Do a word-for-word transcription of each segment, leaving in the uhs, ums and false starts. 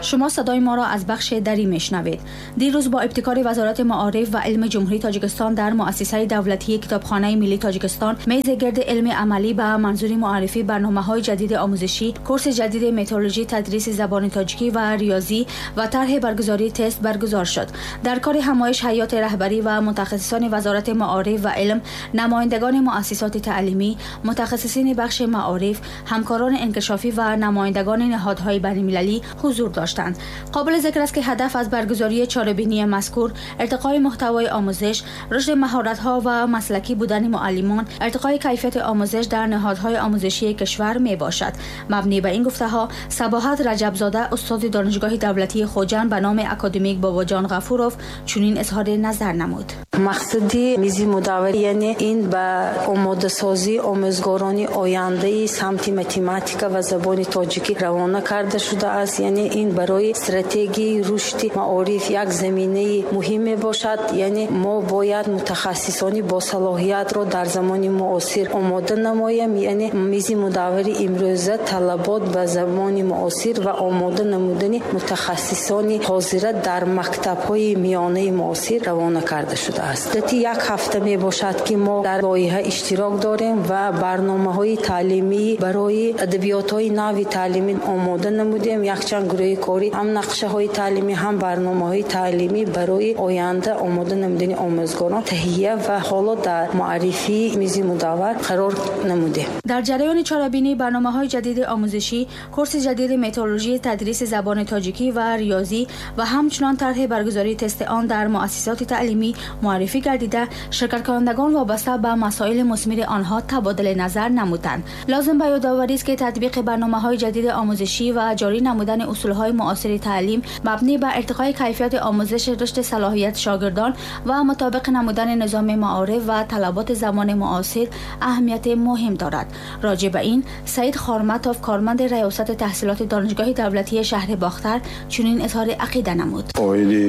Шумо садои моро аз бахши дарӣ мешунавед. Дирӯз бо ибтикори Вазорати маориф ва илми Ҷумҳурии Тоҷикистон дар муассисаи давлатии Китобхонаи миллии Тоҷикистон мези гирди илми амалӣ ба манзури муаррифии барномаҳои ҷадиди омӯзишӣ, курси ҷадиди методологии тадриси забони тоҷикӣ ва риёзӣ ва тарҳи баргузории тест баргузор шуд. Дар кори ҳамоиш ҳайати раҳбарӣ ва мутахассисони Вазорати маориф ва илм, намояндагони муассисоти таълимӣ, мутахассисини бахши маориф, ҳамкорони инкишофӣ ва намояндагони ниҳодҳои байналмилалӣ ҳузур доштанд. Қобили зикр аст, ки ҳадаф аз баргузории чорабинии мазкур иртиқои муҳтавои омӯзиш, рушди маҳоратҳо ва маслакӣ будани муаллимон, иртиқои кайфияти омӯзиш дар ниҳодҳои омӯзишии кишвар мебошад. Мабнӣ ба ин гуфтаҳо, Сабоҳат Раҷабзода, устоди Донишгоҳи давлатии Хуҷанд ба номи академик Бобоҷон Ғафуров, чунин изҳори назар намуд. Мақсади мизи мудаввар, яъне ин ба омодасозии омӯзгорони ояндаи самти математика ва забони тоҷикӣ равона карда шудааст. Яъне ин барои стратегияи рушди маориф як заминаи муҳим мебошад. Яъне мо бояд мутахассисони босалоҳиятро дар замони муосир омода намоем. Яъне мизи мудаввари имрӯза талабот ба замони муосир ва омода намудани мутахассисони ҳозира дар мактабҳои миёнаи муосир равона карда шудааст. Муддати як ҳафта мебошад, ки мо дар лоиҳа иштирок дорем ва барномаҳои таълимӣ барои адабиётҳои нави таълимӣ омода намудем. Якчанд гурӯҳи корӣ ҳам нақшаҳои таълимӣ, ҳам барномаҳои таълимӣ барои оянда омода намудани омӯзгорон таҳия ва ҳоло дар муаррифии мизи мудаввар қарор намудем. Дар ҷараёни чорабинӣ барномаҳои ҷадиди омӯзишӣ, курси ҷадиди методологии тадриси забони тоҷикӣ ва риёзӣ ва ҳамчунон тарҳи баргузории тести он дар муассисоти таълимӣ муаррифӣ гардида, ширкаткунандагон вобаста ба масоили мусмири онҳо табодули назар намуданд. Лозим ба ёдоварист, ки татбиқи барномаҳои ҷадиди омӯзишӣ ва ҷорӣ намудани усулҳои муосири таълим мабнӣ ба иртиқои кайфияти омӯзиш, рушди салоҳияти шогирдон ва мутобиқ намудани низоми маориф ва талаботи замони муосир аҳамияти муҳим дорад. Роҷеъ ба ин Саид Хорматов, корманди раёсати таҳсилоти Донишгоҳи давлатии шаҳри Бохтар, чунин изҳори ақида намуд. Оиди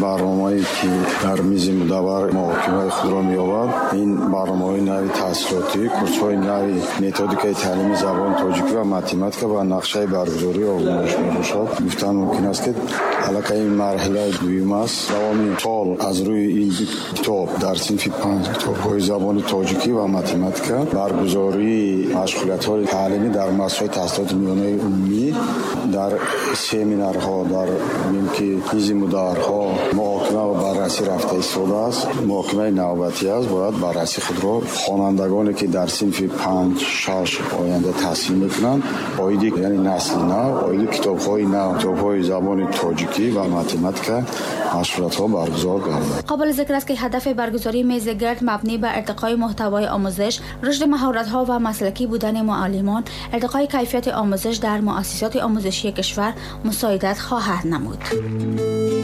барномае, ки дар мизи мудаввар муҳокимаи худро меёбад, ин барномаҳои нави таҳсилотӣ, курсҳои нави методикаи таълими забони тоҷикӣ ва математика ва нақшаи баргузории озмоиш мебошад. Гуфтан мумкин аст, ки аллакай ин марҳилаи дуюм аст. Давоми сол аз рӯи ин китоб дар синфи панҷ китобҳои забони тоҷикӣ ва математика баргузории машғулиятҳои таълимӣ дар муассисаҳои таҳсилоти миёнаи умумӣ, дар семинарҳо, дар ки мизи мудавварҳо муҳокима ва баррасӣ рафта истодааст. Муҳокимаи навбатӣ аст, бояд баррасӣ худро хонандагоне, ки дар синфи панҷ, шаш оянда таҳсил мекунанд, оиди, яъне насли нав, оиди китобҳои нав, китобҳои забони тоҷикӣ ва математика машғулиятҳо баргузор гардад. Қобили зикр аст, ки ҳадафи баргузории мези гирд мабнӣ ба иртиқои муҳтавои омӯзиш, рушди маҳоратҳо ва маслакӣ будани муаллимон, иртиқои кайфияти омӯзиш дар муассисоти омӯзишии кишвар мусоидат хоҳад намуд.